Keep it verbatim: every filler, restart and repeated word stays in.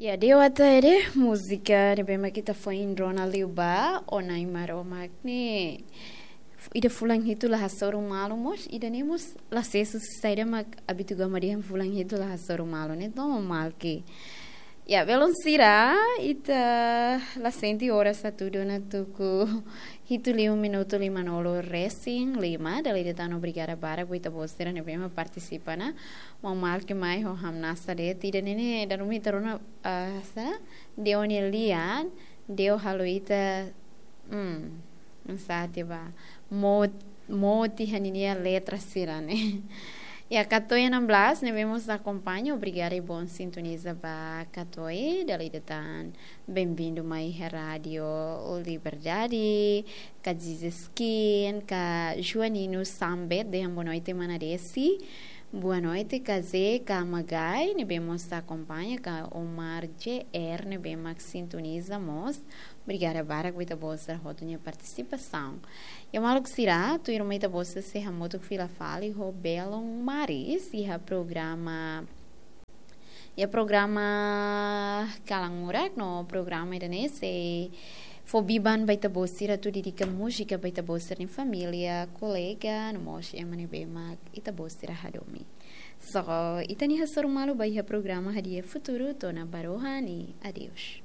Ya, Deus ata ede, múzika ne'ebé mak ita foin rona liu ba, Ó Na'i Maromak ne'e. Ida fulan hitu la hasoru malu mós, ida-ne'e mós la sesu saida mak abitu gama dehan fulan hitu la hasoru malu ne'e, toma mal ke. Ya, belun sira, ita la sente oras atu duna tuku hitu liu minutu limanulu resin lima, dala ida tan obrigada barak ba ita-boot sira ne'ebé mak partisipa ona. Maun Malki mai ho hamnasa de'it, ida-ne'e ne'e dala ruma ita rona, ah, sa, Deus nia lian, Deus halo ita, hmm, sente ba, mot-, moti iha ninia letra sira-ne'e. Ya, Katoe enam belas, ne'ebé mós akompaña, obrigada i bom sintoniza ba Katoe, dala ida tan bem-vindo mai iha Rádio Liberdade, ka Jizeskin, ka Joanino Sambet, dehan boa noite mana Desi. Boa noite, Kazé, ka Magai, ne'ebé mós akompaña, ka Omar J R, ne'ebé mak sintoniza mós. Obrigada barak ba ita-boot sira hotu nia partisipasaun. Ya maluk sira, tuirmai ita-boot sira sei hamutuk fila fali ho belun maris, iha programa, ya programa Kalan Murak no programa ida-ne'e sei fó biban ba ita-boot sira atu dedika múzika ba ita-boot sira-nia família, kolega, no mós ema ne'ebé mak ita-boot sira hadomi. So, ita-nia hasoru malu ba iha programa Hadi'a Futuru, to'o ona ba rohan i adeus.